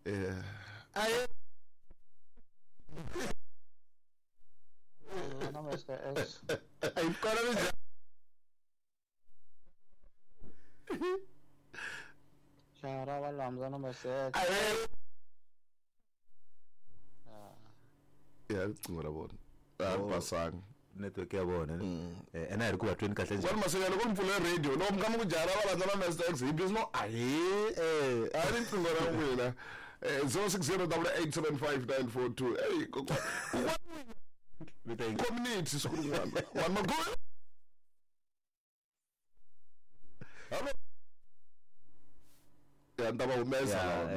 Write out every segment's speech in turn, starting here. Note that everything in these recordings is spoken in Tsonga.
Aye. Na Mr. X. Ay kona mi Jaha ra valambza na Mr. X. Aye. Ya riqingho ra vona. A ri pasanga. Network ya vona ene a hi ri ku va tweni kahle njhani? Kwani Masenya loko mi pfule radio loko mi kha mi ku jaha ra valambza na Mr. X hi busy no ahe a ri riqingho ra n'wina. 0608875942. Ey kokwa Vita community siku rin'wana. Vanhu makulu. Hello. Ya ni ta va humesa lawa.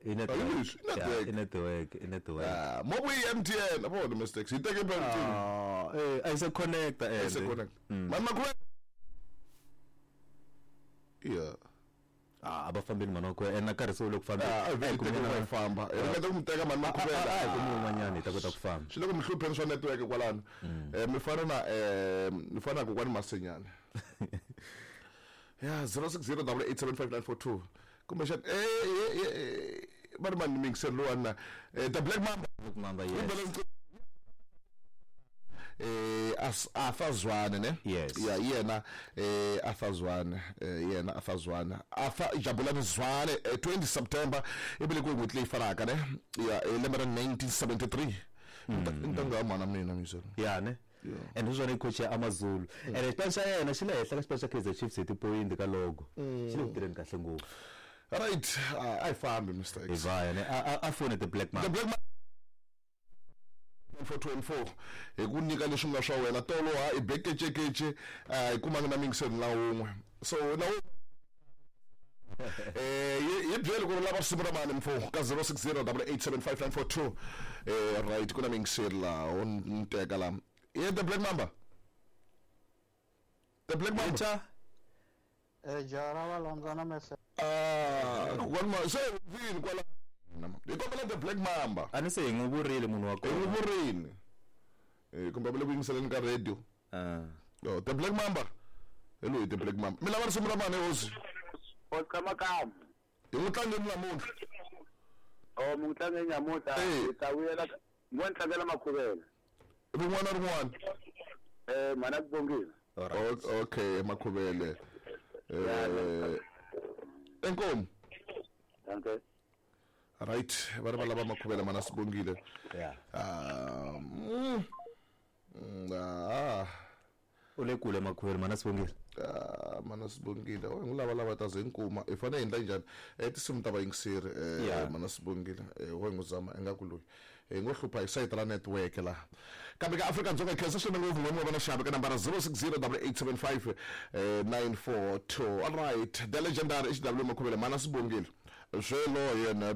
I network. Hi leswi, i network. I network, i network. Ah, mo ku i MTN, vo mistakes. Yi teke MTN. Ah, a yi se connecta Yi se connect. Mani makulu. Yeah. Ah, a va fambeni mhani wa kona ene na karhi se wu le ku fambeni. Ah, a A hi hi kumi teke na- ku famba. Hi ringeta ku mi teka mani makulu. A hi kumi un'wanyana hi ta kota ku famba. Swi le ku mi hlupheni swa network kwalano. Mi fana na mi fana na kokwani Masenyana. Ya 0608875942. Kumbe xana va ri mani mixer lowani na the Black Mamba. Black Mamba, yes. Arthur Zwane ne? Yes. Ya yena Arthur Zwane, yena Arthur Zwane. Arthur Jabulani Zwane 20 September i velekiwe n'hweti leyi fanaka ne? Ya lembe ra 1973. Ntanga ya mhana mina mixer. Ya ne? And hi swona i coach ya AmaZulu. And xipano xa yena xi le henhla ka xipano xa Kaizer Chiefs hi tipoyinti ka logo. Xi le ku tirheni kahle ngopfu. Right, a hi fambi Mr. Hi X. vaya ne? A fone the Black The Mamba. Black Mamba 424 hi ku nyika leswi nga swa wena tolo ha i bekecekece hi kumanga na mingiseni la wun'we so na hi byeli ku ri lava risimu ra mani mfo ka 0608875942. Right, ku na mingiseri laha wo ni teka la ye the Black Mamba. The Black Mamba. Cha. Jaha ra valambza na Mr. Ah, kokwani ma se vini kwala hi kombela the Black Mamba. A ni se hi n'wi vurile munhu wa Hi n'wi kona. vurini. Kumbe va le ku yingiseleni ka radio. Ah. Oh, the Black Mamba. Hello, the Black Mamba. Mi lava risimu ra mani hosi? Oscar Makamu. Hi n'wi tlangeni namuntlha. Oh, mi n'wi tlangeni namuntlha. Hi ta vuyela mo ni tlangela Makhuvela. Rin'wana na rin'wana. Mhana ku bongile. Okay, Makhuvele. Inkomu. Okay. Right, va ri va lava Makhuvele mana Sibongile. Yeah. U le kule Makhuvele mana Sibongile. Ah, mana Sibongile. O n'wi lava lava ta ze nkuma. Hi fanele hi endla njhani? Tinsimu ta vayingiseri mana Sibongile. Wo n'wi zama ingaku loyi. Hi ngo hlupha hi sayiti ra network laha. Kambe ka Afrika-Dzonga khensa swinene ngopfu n'wina va na xiave ka nambara 06088759 942. All right, the legendary HW Makhuvele mana Sibongile. Swelo yena.